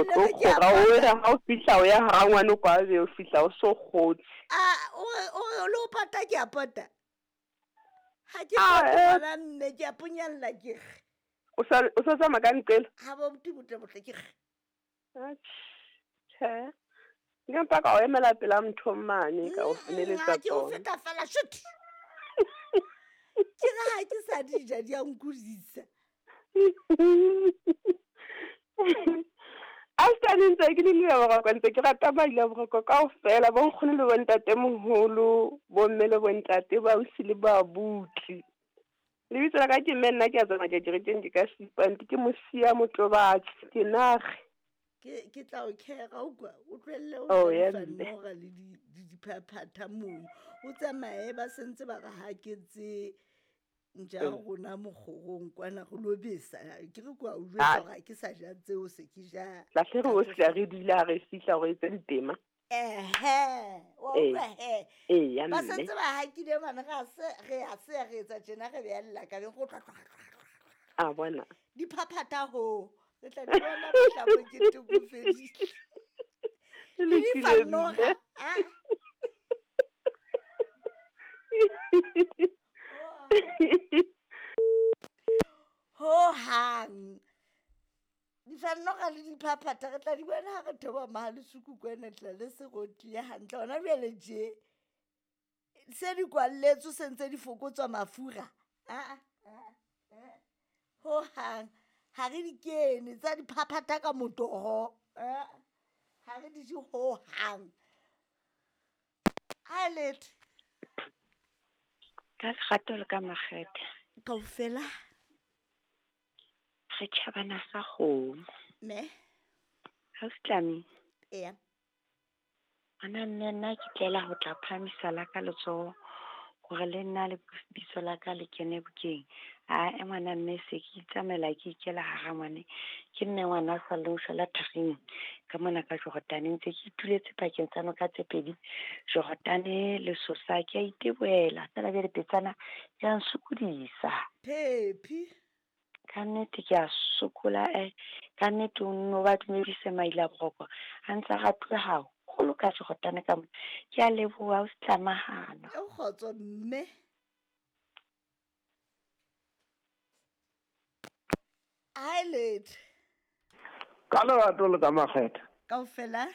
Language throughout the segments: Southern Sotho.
O tlo kgora o re ha o fihla o ya ha ngwane kwa be o fihla o so kgotse. A o re o re lo pata ke a pata. Ha ke pata ngwana mme ke a ponyalla ke re. O sa o sa tsamaya ka nqela? Ha bo buti botle ke re. Tjhe. Nka mpa ka o emela pela motho mane ka o feneletsa tsona. Ke o feta fela shit. Ke re ha ke sa di ja di a nkodisa. Astane ntse ke le le boroko ntse ke rata maile boroko kaofela bo nkgono le bontate moholo bomme le bontate ba ausi le babuti. Lebitso la ka ke mme nna ke a tsamaya ke kerekeng ke ka Seipante ke mosia motlobatsi ke nage. Ke ke tla o khera o kwa o tlohelle o Oh, ja ya difa mme. noga le di di diphaphatha mono o tsamaye ba sentse ba re haketse ntja ya rona mokgorong kwana re lo besa ke re kwa o jwetsa Ah. hore ha ke sa ja tseo se ke ja Lahle re o fihla re dula ha re fihla gore etse ditema. Ehe, wa Ee. utlwa he. Ee, ya Ba mme. sentse ba hakile mane re a se re a se re etsa tjena re beella ka beng go tlwa tlwa tlwa tlwa. A bona. Diphaphatha ho. Re tla di bona mohla mokete o fedile. Le Le lokile difanoga, mme. ah. Ho hang. Difanoga le diphaphatha re tla di bona ha re theoha Mahalesuku kwana tla le se rotile hantle hona jwale tje. Se di kwalletswe se ntse di fokotswa mafura. Ah ah. Ho hang ha re di kene tsa diphaphatha ka motoho. Ah. Ha re di je ho hang. Ha letho. Ka lerato le ka makgethe. Kaofela. Re tjhabana sa kgomo. Me. Ha o Tlami. Eya. Ngwana mme nna ke tlela ho tla phahamisa la ka letsoho hore le nna le bitso la ka le kene bukeng. Ae ngwana mme se ke itsamaela ke ikela hara ngwane. Ke mme ngwana a sa leng shwela tharing ka mona ka Jordan. Ntse ke ituletse pakeng tsa noka tse pedi, Jordan le Sosa. Ke a itebohela feela jwale petsana ya nsokodisa. Phephi. Ka nnete ke a sokola ka nnete o nno ba dumedise maile a boroko a ntse a ratuwe haholo ka Jordan ka mona. Ke a leboha o se tlamahano. E kgotso mme. Ha letho. Ka lerato le ka makgethe. Kaofela.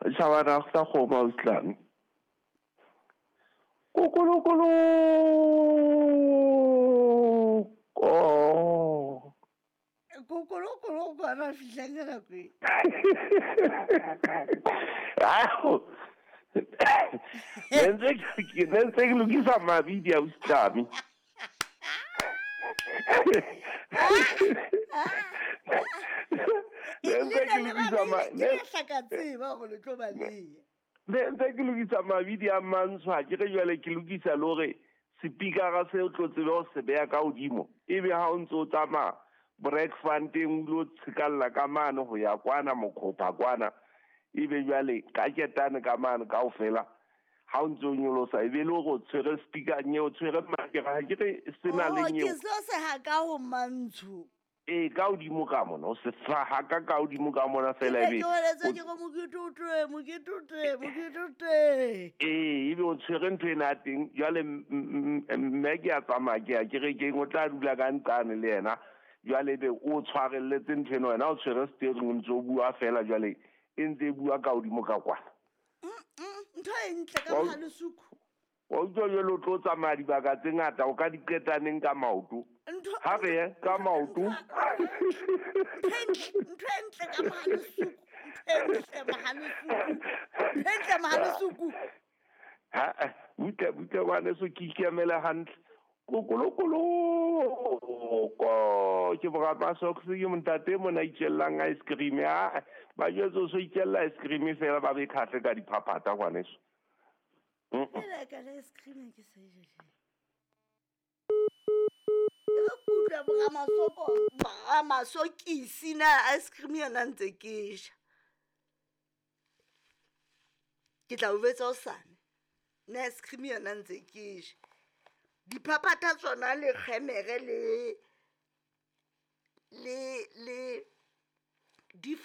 Tjhabana sa kgomo o Tlami. Kokolokolo. Ko. Kokolokolo kwana fihlang ka nako e. Ao. Ne ntse ke lokisa mabidi a Tlami. Ne ntse ke lokisa ma Ke hlaka tseba hore le tlo ba le. Ne ntse ke lokisa mabidi a mantsho ha ke re jwale ke lokisa le hore sepikara se o tlo tsebe ho se beha ka hodimo. Ebe ha o ntso o tsamaya breakfasteng o lo tshikalla ka mane ho ya kwana mokgopha kwana. Ebe jwale ka ketane ka mane kaofela ha o ntso o nyolosa ebe le hore o tshwere speaker nye o tshwere makere ha ke re se na le Oh, nyeo. ke seo se ha ka ho mantsho. Ee, ka hodimo ka mona, o se faha ka ka hodimo ka mona fela Ke ebe ke holetse ke re mokete o teng, mokete o teng, mokete o teng. Ee, ebe o tshwere ntho ena ya teng. Jwale mme ke a tsamaya ke ya kerekeng, o tla dula ka nqane le yena. Jwale ebe o tshwarelletse ntho ena, wena o tshwere steering o ntso o bua fela jwale e ntse e bua ka hodimo ka kwana. Ntho e ntle ka Mohalesuku. Wa utlwa jwale o tlo tsamaya dibaka tse ngata, o ka di qetaneng ka maoto. Ha re ye ka maoto. Ntho e ntle ka Mohalesuku. Ntho e ntle Mohalesuku. Ntho e ntle Mohalesuku. Ha, butle, butle ngwaneso ke ikemele hantle. Kokolokolo ko ke borapa socks ke montate mona itjellang ice cream. Ha, ba jwetse o so itjella ice cream fela ba be khahle ka diphaphatha ngwaneso. Fela ka le ice cream ke sa e je. Re kutlwa boramasoko, boramasokisi na ice cream yona ntse ke ja. Ke tla o betsa hosane. Na ice cream yona ntse ke ja. Diphaphatha tsona le kgemere le le le